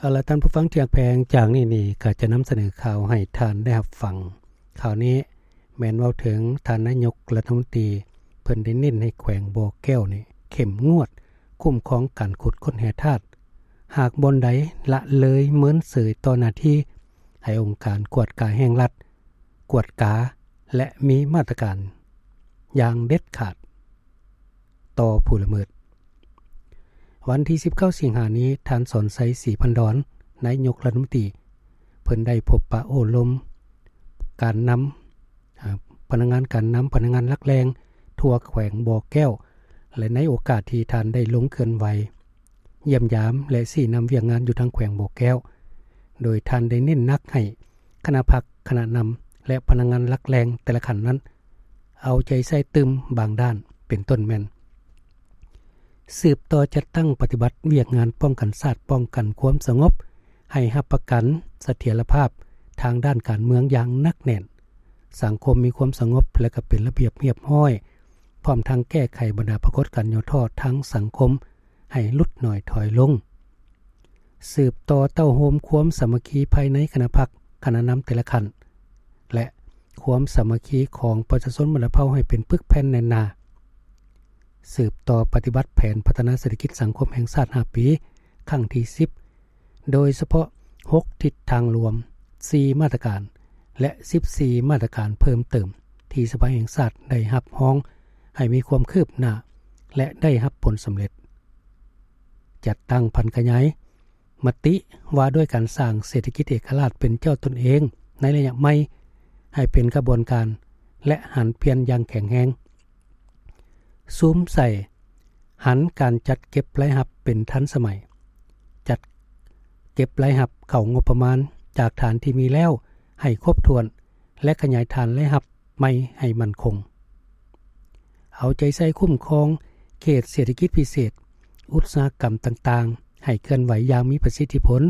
ເອົາລະ ທ່ານຜູ້ຟັງທີ່ຮັກແພງ, ຈາກນີ້ນີ້ກໍຈະນຳສະເໜີຂ່າວໃຫ້ທ່ານໄດ້ຮັບຟັງ. ຂ່າວນີ້ແມ່ນເວົ້າເຖິງທ່ານນາຍົກລັດຖະມົນຕີ ເພິ່ນໄດ້ເນັ້ນໃຫ້ແຂວງບໍ່ແກ້ວນີ້ເຂັ້ມງວດຄຸ້ມຄອງການຂຸດຄົ້ນແຮ່ທາດ, ຫາກບ່ອນໃດລະເລີຍເມີນເສີຍຕໍ່ໜ້າທີ່ ໃຫ້ອົງການກວດກາແຫ່ງລັດກວດກາ ແລະ ມີມາດຕະການຢ່າງເດັດຂາດຕໍ່ຜູ້ລະເມີດ. ວັນທີສິບເກົ້າ ສິງຫານີ້, ທ່ານ ສອນໄຊ ສີພັນດອນ ນາຍົກລັດຖະມົນຕີ ເພິ່ນໄດ້ພົບປະໂອ້ລົມການນຳ ອາ ພະນັກງານການນຳ, ພະນັກງານຫຼັກແຫຼ່ງທົ່ວແຂວງບໍ່ແກ້ວ ແລະ ໃນໂອກາດທີ່ທ່ານໄດ້ລົງເຄື່ອນໄຫວ ຢ້ຽມຢາມ ແລະ ຊີ້ນຳວຽກງານຢູ່ທາງແຂວງບໍ່ແກ້ວ, ໂດຍທ່ານໄດ້ເນັ້ນໜັກໃຫ້ຄະນະພັກ, ຄະນະນຳ ແລະ ພະນັກງານຫຼັກແຫຼ່ງແຕ່ລະຂັ້ນນັ້ນ ເອົາໃຈໃສ່ຕື່ມບາງດ້ານ ເປັນຕົ້ນແມ່ນ ສືບຕໍ່ຈັດຕັ້ງປະຕິບັດວຽກງານປ້ອງກັນຊາດ, ປ້ອງກັນຄວາມສະຫງົບ, ໃຫ້ຮັບປະກັນສະຖຽນລະພາບທາງດ້ານການເມືອງຢ່າງໜັກແໜ້ນ, ສັງຄົມມີຄວາມສະຫງົບ ແລະ ກໍເປັນລະບຽບຮຽບຮ້ອຍ, ພ້ອມທັງແກ້ໄຂບັນດາປາກົດການຫຍໍ້ທໍ້ທາງສັງຄົມໃຫ້ຫຼຸດໜ້ອຍຖອຍລົງ. ສືບຕໍ່ເຕົ້າໂຮມຄວາມສາມັກຄີພາຍໃນຄະນະພັກ, ຄະນະນຳແຕ່ລະຂັ້ນ ແລະ ຄວາມສາມັກຄີຂອງປະຊາຊົນບັນດາເຜົ່າໃຫ້ເປັນປຶກແຜ່ນແໜ້ນໜາ. ສືບຕໍ່ປະຕິບັດແຜນພັດທະນາເສດຖະກິດສັງຄົມແຫ່ງຊາດຫ້າປີ ຄັ້ງທີສິບ ໂດຍສະເພາະຫົກທິດທາງລວມ, ສີ່ມາດຕະການ ແລະ ສິບສີ່ມາດຕະການເພີ່ມເຕີມ ທີ່ສະພາແຫ່ງຊາດໄດ້ຮັບຮອງໃຫ້ມີຄວາມຄືບໜ້າ ແລະ ໄດ້ຮັບຜົນສຳເລັດ. ຈັດຕັ້ງຜັນຂະຫຍາຍມະຕິວ່າດ້ວຍການສ້າງເສດຖະກິດເອກະລາດເປັນເຈົ້າຕົນເອງໃນໄລຍະໃໝ່ ໃຫ້ເປັນຂະບວນການ ແລະ ຫັນປ່ຽນຢ່າງແຂງແຮງ. ສຸມໃສ່ຫັນການຈັດເກັບລາຍຮັບເປັນທັນສະໄໝ, ຈັດເກັບລາຍຮັບເຂົ້າງົບປະມານຈາກຖານທີ່ມີແລ້ວໃຫ້ຄົບຖ້ວນ ແລະ ຂະຫຍາຍຖານລາຍຮັບໃໝ່ໃຫ້ໝັ້ນຄົງ. ເອົາໃຈໃສ່ຄຸ້ມຄອງເຂດເສດຖະກິດພິເສດ, ອຸດສາຫະກຳຕ່າງໆ ໃຫ້ເຄື່ອນໄຫວຢ່າງມີປະສິດທິຜົນ,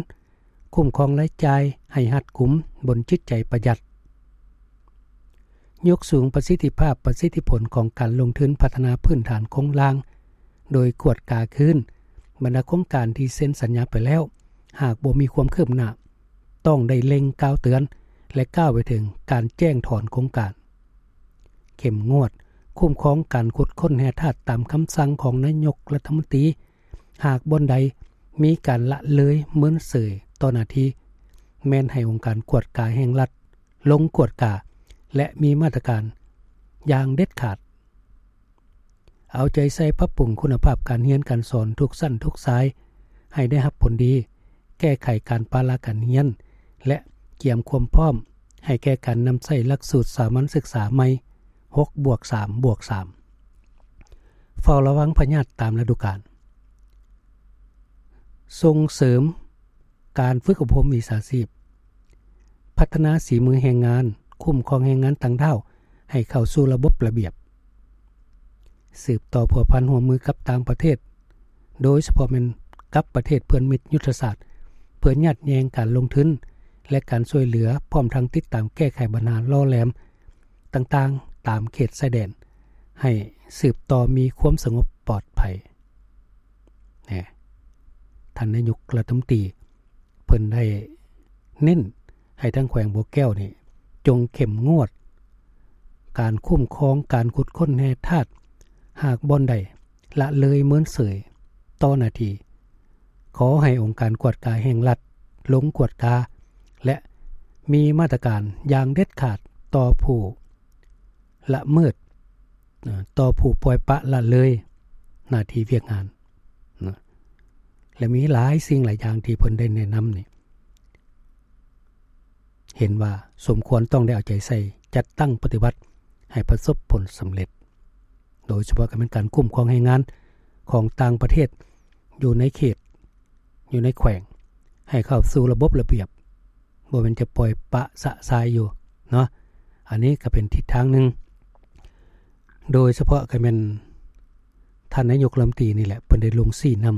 ຄຸ້ມຄອງລາຍຈ່າຍໃຫ້ຮັດກຸມບົນຈິດໃຈປະຢັດ. ຍົກສູງປະສິດທິພາບ, ປະສິດທິຜົນຂອງການລົງທຶນພັດທະນາພື້ນຖານໂຄງລ່າງ, ໂດຍກວດກາຄືນບັນດາໂຄງການທີ່ເຊັນສັນຍາໄປແລ້ວ, ຫາກບໍ່ມີຄວາມຄືບໜ້າ, ຕ້ອງໄດ້ເລັ່ງກ່າວເຕືອນ ແລະ ກ່າວໄປເຖິງການແຈ້ງຖອນໂຄງການ. ເຂັ້ມງວດຄຸ້ມຄອງການຂຸດຄົ້ນແຮ່ທາດຕາມຄຳສັ່ງຂອງນາຍົກລັດຖະມົນຕີ, ຫາກບ່ອນໃດມີການລະເລີຍເມີນເສີຍຕໍ່ໜ້າທີ່, ແມ່ນໃຫ້ອົງການກວດກາແຫ່ງລັດລົງກວດກາ ແລະ ມີມາດຕະການຢ່າງເດັດຂາດ. ເອົາໃຈໃສ່ປັບປຸງຄຸນນະພາບການຮຽນການສອນທຸກຊັ້ນທຸກສາຍໃຫ້ໄດ້ຮັບຜົນດີ, ແກ້ໄຂການປະລະການຮຽນ ແລະ ກຽມຄວາມພ້ອມໃຫ້ແກ່ການນຳໃຊ້ຫຼັກສູດສາມັນສຶກສາໃໝ່ ຫົກບວກສາມບວກສາມ. ເຝົ້າລະວັງພະຍາດຕາມລະດູການ. ສົ່ງເສີມການຝຶກອົບຮົມວິຊາຊີບ, ພັດທະນາສີມືແຮງງານ, ຄຸ້ມຄອງແຮງງານຕ່າງດ້າວໃຫ້ເຂົ້າສູ່ລະບົບລະບຽບ. ສືບຕໍ່ພົວພັນຮ່ວມມືກັບຕ່າງປະເທດ, ໂດຍສະເພາະແມ່ນກັບປະເທດເພື່ອນມິດຍຸດທະສາດ, ເພື່ອຍາດແຍ່ງການລົງທຶນ ແລະ ການຊ່ວຍເຫຼືອ, ພ້ອມທັງຕິດຕາມແກ້ໄຂບັນຫາຫຼໍ່ແຫຼມຕ່າງໆຕາມເຂດຊາຍແດນ ໃຫ້ສືບຕໍ່ມີຄວາມສະຫງົບປອດໄພ. ແນ່ ທ່ານນາຍົກລັດຖະມົນຕີ ເພິ່ນໄດ້ເນັ້ນໃຫ້ທາງແຂວງບໍ່ແກ້ວນີ້ ຈົ່ງເຂັ້ມງວດການຄຸ້ມຄອງການຂຸດຄົ້ນແຮ່ທາດ, ຫາກບ່ອນໃດລະເລີຍເມີນເສີຍຕໍ່ໜ້າທີ່, ຂໍໃຫ້ອົງການກວດກາແຫ່ງລັດລົງກວດກາ ແລະ ມີມາດຕະການຢ່າງເດັດຂາດຕໍ່ຜູ້ລະເມີດ ອາ ຕໍ່ຜູ້ປ່ອຍປະລະເລີຍໜ້າທີ່ວຽກງານນະ ແລະ ມີຫຼາຍສິ່ງຫຼາຍຢ່າງທີ່ເພິ່ນໄດ້ແນະນຳນີ້ ເຫັນວ່າສົມຄວນຕ້ອງໄດ້ເອົາໃຈໃສ່ຈັດຕັ້ງປະຕິບັດໃຫ້ປະສົບຜົນສຳເລັດ, ໂດຍສະເພາະກໍແມ່ນການຄຸ້ມຄອງແຮງງານຂອງຕ່າງປະເທດຢູ່ໃນເຂດ ຢູ່ໃນແຂວງ ໃຫ້ເຂົ້າສູ່ລະບົບລະບຽບ, ບໍ່ແມ່ນຈະປ່ອຍປະຊະຊາຍຢູ່ເນາະ. ອັນນີ້ກໍເປັນທິດທາງໜຶ່ງ, ໂດຍສະເພາະກໍແມ່ນທ່ານນາຍົກລັດຖະມົນຕີນີ້ແຫຼະ ເພິ່ນໄດ້ລົງຊີ້ນຳ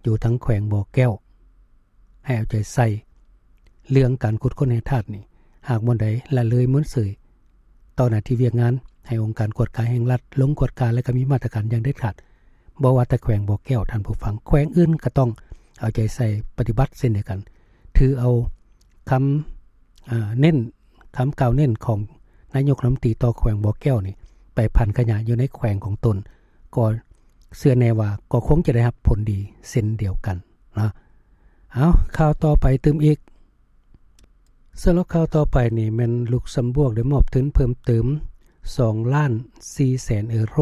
ຢູ່ທາງແຂວງບໍ່ແກ້ວ ໃຫ້ເອົາໃຈໃສ່ເລື່ອງການຂຸດຄົ້ນແຮ່ທາດນີ້, ຫາກບ່ອນໃດລະເລີຍເມີນເສີຍ ຕໍ່ໜ້າທີ່ວຽກງານ ໃຫ້ອົງການກວດກາແຫ່ງລັດລົງກວດກາ ແລະ ກໍມີມາດຕະການຢ່າງເດັດຂາດ. ບໍ່ວ່າແຕ່ແຂວງບໍ່ແກ້ວ, ທ່ານຜູ້ຟັງ, ແຂວງອື່ນກໍຕ້ອງ ເອົາໃຈໃສ່ປະຕິບັດເຊັ່ນດຽວກັນ. ຖືເອົາຄຳ ເອີ ເນັ້ນ ຄຳກ່າວເນັ້ນຂອງນາຍົກລັດຖະມົນຕີຕໍ່ແຂວງບໍ່ແກ້ວນີ້ ໄປຜັນຂະຫຍາຍຢູ່ໃນແຂວງຂອງຕົນ ກໍເຊື່ອແນ່ວ່າກໍຄົງຈະໄດ້ຮັບຜົນດີເຊັ່ນດຽວກັນເນາະ. ເອົາ ຂ່າວຕໍ່ໄປຕື່ມອີກ. ສຳລັບຂ່າວຕໍ່ໄປນີ້ແມ່ນ ລຸກຊຳບວກໄດ້ມອບທຶນເພີ່ມເຕີມ ສອງລ້ານສີ່ແສນເອີໂຣ,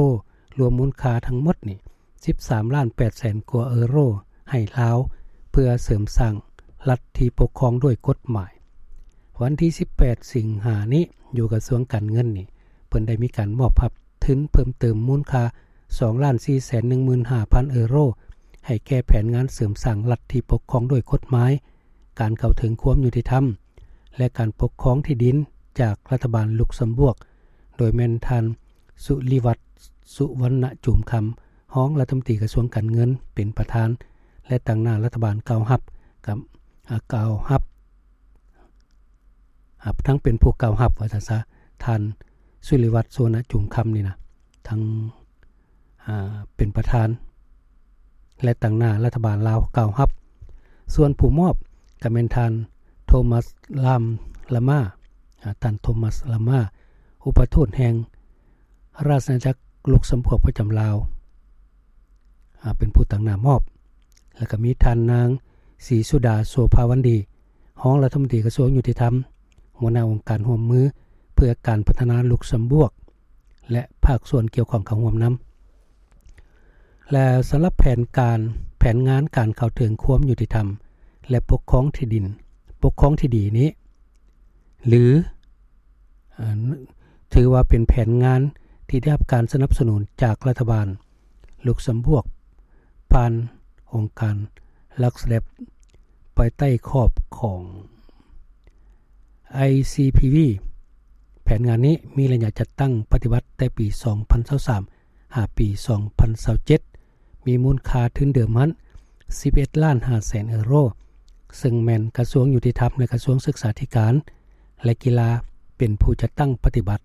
ລວມມູນຄ່າທັງໝົດນີ້ ສິບສາມລ້ານແປດແສນກວ່າເອີໂຣ ໃຫ້ລາວ ເພື່ອເສີມສ້າງລັດທີ່ປົກຄອງດ້ວຍກົດໝາຍ. ວັນທີສິບແປດ ສິງຫານີ້ ຢູ່ກະຊວງການເງິນນີ້ ເພິ່ນໄດ້ມີການມອບຮັບທຶນເພີ່ມເຕີມມູນຄ່າ ສອງລ້ານສີ່ແສນໜຶ່ງໝື່ນຫ້າພັນເອີໂຣ ໃຫ້ແກ່ແຜນງານເສີມສ້າງລັດທີ່ປົກຄອງດ້ວຍກົດໝາຍ, ການເຂົ້າເຖິງຄວາມຍຸຕິທຳ ແລະ ການປົກຄອງທີ່ດິນຈາກລັດຖະບານລຸກຊຳບວກ, ໂດຍແມ່ນທ່ານ ສຸລິວັດ ສຸວັນນະຈູມຄຳ ຮອງລັດຖະມົນຕີກະຊວງການເງິນເປັນປະທານ ແລະ ຕາງໜ້າລັດຖະບານກ່າວຮັບ ກັບ ອາ ກ່າວຮັບ ອາ ທັງເປັນຜູ້ກ່າວຮັບວ່າຊັ້ນຊະ ທ່ານ ສຸລິວັດ ສຸວັນນະຈູມຄຳນີ້ນະ ທັງ ອາ ເປັນປະທານ ແລະ ຕາງໜ້າລັດຖະບານລາວກ່າວຮັບ. ສ່ວນຜູ້ມອບກໍແມ່ນທ່ານ ໂທມັສ ລາມ ລາມາ ອາ ທ່ານ ໂທມັສ ລາມາ ອຸປະທູດແຫ່ງ ລາຊະອານາຈັກລຸກຊຳບວກປະຈຳລາວ ອາ ເປັນຜູ້ຕາງໜ້າມອບ ແລ້ວກໍມີທ່ານນາງ ສີສຸດາ ໂສພາວັນດີ ຮອງລັດຖະມົນຕີກະຊວງຍຸຕິທຳ ຫົວໜ້າອົງການຮ່ວມມືເພື່ອການພັດທະນາລຸກຊຳບວກ ແລະ ພາກສ່ວນກ່ຽວຂ້ອງເຂົ້າຮ່ວມນຳ. ແລະ ສຳລັບແຜນການ ແຜນງານການເຂົ້າເຖິງຄວາມຍຸຕິທຳ ແລະ ປົກຄອງທີ່ດິນ ປົກຄອງທີ່ດີນີ້ ຫຼື ອາ ຖືວ່າເປັນແຜນງານທີ່ໄດ້ຮັບການສະໜັບສະໜູນຈາກລັດຖະບານລຸກຊຳບວກ ຜ່ານອົງການລັກສະແດບ ພາຍໃຕ້ຂອບຂອງ ໄອຊີພີວີ. ແຜນງານນີ້ມີໄລຍະຈັດຕັ້ງປະຕິບັດແຕ່ປີສອງພັນຊາວສາມ ຫາປີສອງພັນຊາວເຈັດ ມີມູນຄ່າທຶນເດີມຫັ້ນ ສິບເອັດລ້ານຫ້າແສນເອີໂຣ ເຊິ່ງແມ່ນກະຊວງຍຸຕິທຳ ແລະ ກະຊວງສຶກສາທິການ ແລະ ກິລາ ເປັນຜູ້ຈັດຕັ້ງປະຕິບັດ.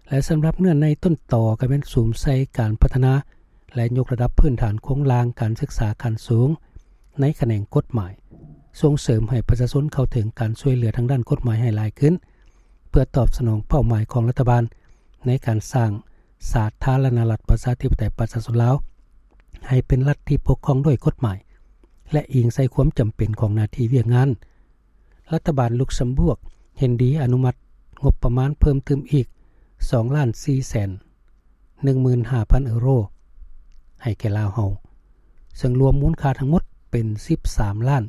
ແລະ ສຳລັບເນື້ອໃນຕົ້ນຕໍກໍແມ່ນສຸມໃສ່ການພັດທະນາ ແລະ ຍົກລະດັບພື້ນຖານໂຄງລ່າງການສຶກສາຂັ້ນສູງໃນຂະແໜງກົດໝາຍ, ສົ່ງເສີມໃຫ້ປະຊາຊົນເຂົ້າເຖິງການຊ່ວຍເຫຼືອທາງດ້ານກົດໝາຍໃຫ້ຫຼາຍຂຶ້ນ ເພື່ອຕອບສະໜອງເປົ້າໝາຍຂອງລັດຖະບານໃນການສ້າງສາທາລະນະລັດປະຊາທິປະໄຕປະຊາຊົນລາວ ໃຫ້ເປັນລັດທີ່ປົກຄອງດ້ວຍກົດໝາຍ ແລະ ອີງໃສ່ຄວາມຈຳເປັນຂອງໜ້າທີ່ວຽກງານ. ລັດຖະບານລຸກຊຳບວກເຫັນດີອະນຸມັດງົບປະມານເພີ່ມຕື່ມອີກ ສອງລ້ານສີ່ແສນໜຶ່ງໝື່ນຫ້າພັນເອີໂຣ ໃຫ້ແກ່ລາວເຮົາ, ເຊິ່ງລວມມູນຄ່າທັງໝົດເປັນ ສິບສາມລ້ານ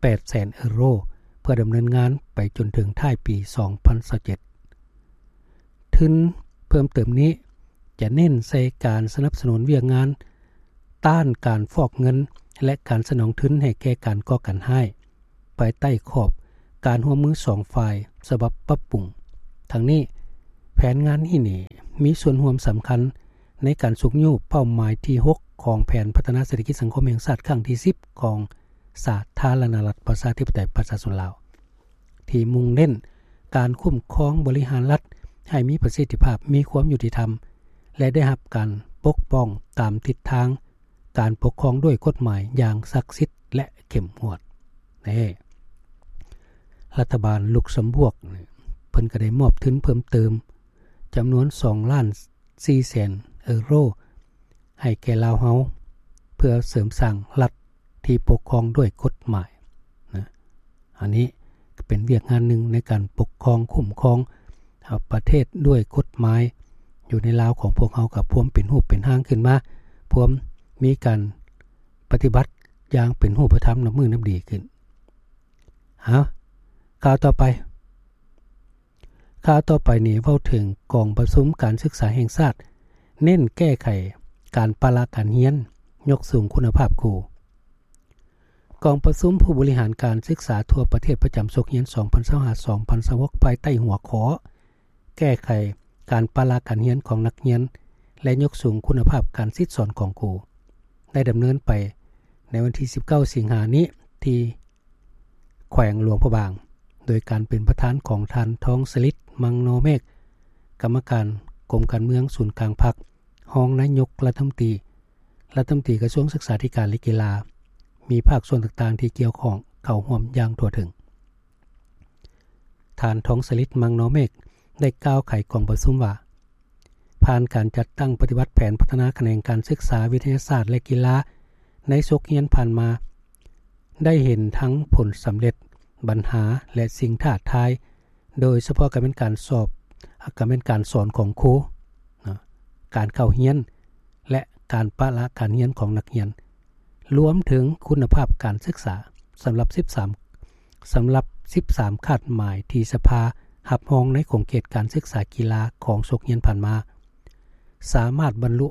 ແປດແສນເອີໂຣ ເພື່ອດຳເນີນງານໄປຈົນເຖິງທ້າຍປີສອງພັນຊາວເຈັດ. ທຶນເພີ່ມເຕີມນີ້ຈະເນັ້ນໃສ່ການສະໜັບສະໜູນວຽກງານຕ້ານການຟອກເງິນ ແລະ ການສະໜອງທຶນໃຫ້ແກ່ການກໍ່ການຮ້າຍ ພາຍໃຕ້ຂອບການຮ່ວມມືສອງຝ່າຍສະບັບປັບປຸງ. ທັງນີ້, ແຜນງານນີ້ນີ້ມີສ່ວນຮ່ວມສຳຄັນໃນການຊຸກຍູ້ເປົ້າໝາຍທີຫົກ ຂອງແຜນພັດທະນາເສດຖະກິດສັງຄົມແຫ່ງຊາດຄັ້ງທີສິບ ຂອງສາທາລະນະລັດປະຊາທິປະໄຕປະຊາຊົນລາວ ທີ່ມຸ່ງເນັ້ນການຄຸ້ມຄອງບໍລິຫານລັດໃຫ້ມີປະສິດທິພາບ, ມີຄວາມຍຸຕິທຳ ແລະ ໄດ້ຮັບການປົກປ້ອງຕາມທິດທາງການປົກຄອງດ້ວຍກົດໝາຍຢ່າງສັກສິດ ແລະ ເຂັ້ມງວດ. ນີ້ ລັດຖະບານລຸກຊຳບວກ ເພິ່ນກໍໄດ້ມອບທຶນເພີ່ມເຕີມຈຳນວນ ສອງລ້ານສີ່ແສນເອີໂຣ ໃຫ້ແກ່ລາວເຮົາ ເພື່ອເສີມສ້າງລັດທີ່ປົກຄອງດ້ວຍກົດໝາຍນະ. ອັນນີ້ກໍເປັນວຽກງານໜຶ່ງໃນການປົກຄອງ, ຄຸ້ມຄອງ ເອົາ ປະເທດດ້ວຍກົດໝາຍ ຢູ່ໃນລາວຂອງພວກເຮົາກໍພວມເປັນຮູບເປັນຮ່າງຂຶ້ນມາ, ພວມມີການປະຕິບັດຢ່າງເປັນຮູບປະທຳນັບມື້ນັບດີຂຶ້ນ. ເອົາ, ຂ່າວຕໍ່ໄປ. ຂ່າວຕໍ່ໄປນີ້ເວົ້າເຖິງກອງປະຊຸມການສຶກສາແຫ່ງຊາດ ເນັ້ນແກ້ໄຂການປະລະການຮຽນ, ຍົກສູງຄຸນນະພາບຄູ. ກອງປະຊຸມຜູ້ບໍລິຫານການສຶກສາທົ່ວປະເທດປະຈຳສົກຮຽນ ສອງພັນຊາວຫ້າ ສອງພັນຊາວຫົກ ພາຍໃຕ້ຫົວຂໍ້ ແກ້ໄຂການປະລະການຮຽນຂອງນັກຮຽນ ແລະ ຍົກສູງຄຸນນະພາບການສິດສອນຂອງຄູ ໄດ້ດຳເນີນໄປໃນວັນທີສິບເກົ້າ ສິງຫານີ້ ທີ່ ແຂວງຫຼວງພະບາງ ໂດຍການເປັນປະທານຂອງທ່ານ ທອງສະລິດ ມັງນໍເມກ ກຳມະການກົມການເມືອງສູນກາງພັກ, ຮອງນາຍົກລັດຖະມົນຕີ, ລັດຖະມົນຕີກະຊວງສຶກສາທິການ ແລະ ກິລາ, ມີພາກສ່ວນຕ່າງໆທີ່ກ່ຽວຂ້ອງເຂົ້າຮ່ວມຢ່າງທົ່ວເຖິງ. ທ່ານ ທອງສະລິດ ມັງນໍເມກ ໄດ້ກ່າວໄຂກອງປະຊຸມວ່າ ຜ່ານການຈັດຕັ້ງປະຕິບັດແຜນພັດທະນາຂະແໜງການສຶກສາ, ວິທະຍາສາດ ແລະ ກິລາໃນສົກຮຽນຜ່ານມາ, ໄດ້ເຫັນທັງຜົນສຳເລັດ, ບັນຫາ ແລະ ສິ່ງທ້າທາຍ, ໂດຍສະເພາະການເປັນການສອບ, ການເປັນການສອນຂອງຄູ, ນະ, ການເຂົ້າຮຽນ ແລະ ການປະລະການຮຽນຂອງນັກຮຽນ, ລວມເຖິງຄຸນນະພາບການສຶກສາ. ສຳລັບສິບສາມ ສຳລັບສິບສາມຄາດໝາຍທີ່ສະພາຮັບຮອງໃນຂົງເຂດການສຶກສາກິລາຂອງສົກຮຽນຜ່ານມາ, ສາມາດບັນລຸ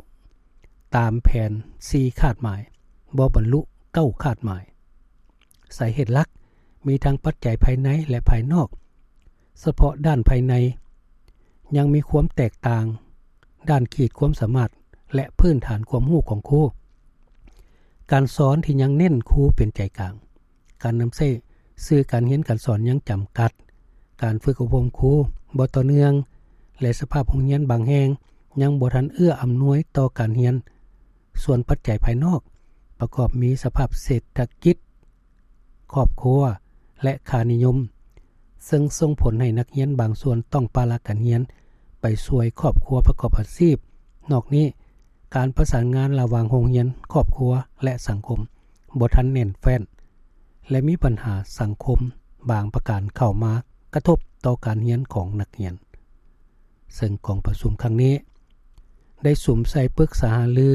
ຕາມແຜນສີ່ຄາດໝາຍ, ບໍ່ບັນລຸເກົ້າຄາດໝາຍ. ສາເຫດຫຼັກມີທັງປັດໄຈພາຍໃນ ແລະ ພາຍນອກ. ສະເພາະດ້ານພາຍໃນ ຍັງມີຄວາມແຕກຕ່າງດ້ານຂີດຄວາມສາມາດ ແລະ ພື້ນຖານຄວາມຮູ້ຂອງຄູ. ການສອນທີ່ຍັງເນັ້ນຄູເປັນໃຈກາງ. ການນຳໃຊ້ສື່ການຮຽນການສອນຍັງຈຳກັດ. ການຝຶກອົບຮົມຄູບໍ່ຕໍ່ເນື່ອງ ແລະ ສະພາບໂຮງຮຽນບາງແຫ່ງຍັງບໍ່ທັນເອື້ອອຳນວຍຕໍ່ການຮຽນ. ສ່ວນປັດໄຈພາຍນອກປະກອບມີສະພາບເສດຖະກິດ, ຄອບຄົວ ແລະ ຄ່ານິຍົມ, ເຊິ່ງສົ່ງຜົນໃຫ້ນັກຮຽນບາງສ່ວນຕ້ອງປະລະການຮຽນໄປຊ່ວຍຄອບຄົວປະກອບອາຊີບ. ນອກນີ້, ການປະສານງານລະຫວ່າງໂຮງຮຽນ, ຄອບຄົວ ແລະ ສັງຄົມບໍ່ທັນແໜ້ນແຟ້ນ ແລະ ມີບັນຫາສັງຄົມບາງປະການເຂົ້າມາກະທົບຕໍ່ການຮຽນຂອງນັກຮຽນ. ເຊິ່ງກອງປະຊຸມຄັ້ງນີ້ໄດ້ສຸມໃສ່ປຶກສາຫາລື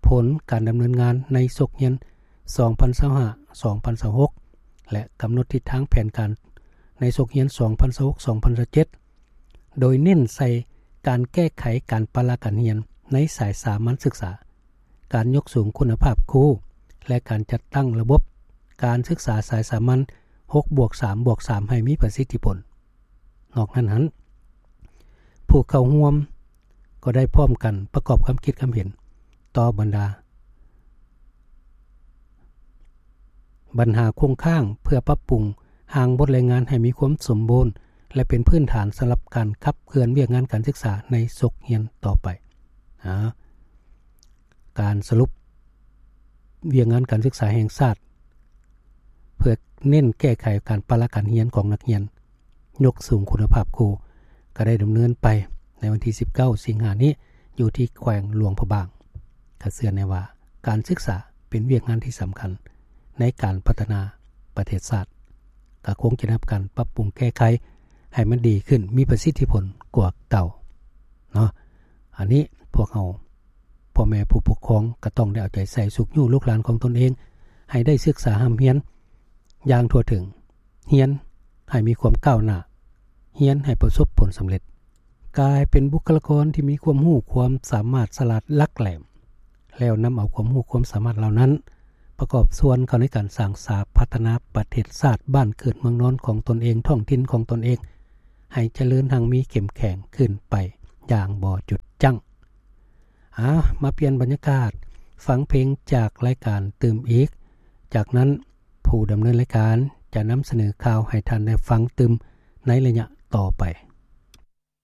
ຜົນການດຳເນີນງານໃນສົກຮຽນສອງພັນຊາວຫ້າ ສອງພັນຊາວຫົກ ແລະ ກຳນົດທິດທາງແຜນການໃນສົກຮຽນສອງພັນຊາວຫົກ ສອງພັນຊາວເຈັດ ໂດຍເນັ້ນໃສ່ການແກ້ໄຂການປະລະການຮຽນໃນສາຍສາມັນສຶກສາ, ການຍົກສູງຄຸນນະພາບຄູ ແລະ ການຈັດຕັ້ງລະບົບການສຶກສາສາຍສາມັນ ຫົກບວກສາມບວກສາມ ໃຫ້ມີປະສິດທິຜົນ. ນອກນັ້ນຫັ້ນ, ຜູ້ເຂົ້າຮ່ວມກໍໄດ້ພ້ອມກັນປະກອບຄວາມຄິດຄວາມເຫັນຕໍ່ບັນດາບັນຫາຄົງຄ້າງ ເພື່ອປັບປຸງຮ່າງບົດລາຍງານໃຫ້ມີຄວາມສົມບູນ ແລະ ເປັນພື້ນຖານສຳລັບການຂັບເຄື່ອນວຽກງານການສຶກສາໃນສົກຮຽນຕໍ່ໄປ. ອາ ການສະຫຼຸບວຽກງານການສຶກສາແຫ່ງຊາດ ເພື່ອເນັ້ນແກ້ໄຂການປະລະການຮຽນຂອງນັກຮຽນ, ຍົກສູງຄຸນນະພາບຄູ ກໍໄດ້ດຳເນີນໄປໃນວັນທີສິບເກົ້າ ສິງຫານີ້ ຢູ່ທີ່ແຂວງຫຼວງພະບາງ. ກໍເຊື່ອແນ່ວ່າການສຶກສາເປັນວຽກງານທີ່ສຳຄັນໃນການພັດທະນາປະເທດຊາດ, ກໍຄົງຈະໄດ້ຮັບການປັບປຸງແກ້ໄຂໃຫ້ມັນດີຂຶ້ນ, ມີປະສິດທິຜົນກວ່າເກົ່າເນາະ. ອັນນີ້ພວກເຮົາ ພໍ່ແມ່ຜູ້ປົກຄອງກໍຕ້ອງໄດ້ເອົາໃຈໃສ່ຊຸກຍູ້ລູກຫຼານຂອງຕົນເອງ ໃຫ້ໄດ້ສຶກສາຮ່ຳຮຽນຢ່າງທົ່ວເຖິງ, ຮຽນໃຫ້ມີຄວາມກ້າວໜ້າ, ຮຽນໃຫ້ປະສົບຜົນສຳເລັດ, ກາຍເປັນບຸກຄະລາກອນທີ່ມີຄວາມຮູ້ຄວາມສາມາດສະຫຼາດຫຼັກແຫຼມ, ແລ້ວນຳເອົາຄວາມຮູ້ຄວາມສາມາດເຫຼົ່ານັ້ນ ປະກອບສ່ວນເຂົ້າໃນການສ້າງສາພັດທະນາປະເທດຊາດບ້ານເກີດເມືອງນອນຂອງຕົນເອງ, ທ້ອງຖິ່ນຂອງຕົນເອງ ໃຫ້ຈະເລີນຮັ່ງມີເຂັ້ມແຂງຂຶ້ນໄປຢ່າງບໍ່ຢຸດຢັ້ງ. ອາ ມາປ່ຽນບັນຍາກາດ, ຟັງເພງຈາກລາຍການຕື່ມອີກ. ຈາກນັ້ນ, ຜູ້ດຳເນີນລາຍການຈະນຳສະເໜີຂ່າວໃຫ້ທ່ານໄດ້ຟັງຕື່ມໃນໄລຍະຕໍ່ໄປ.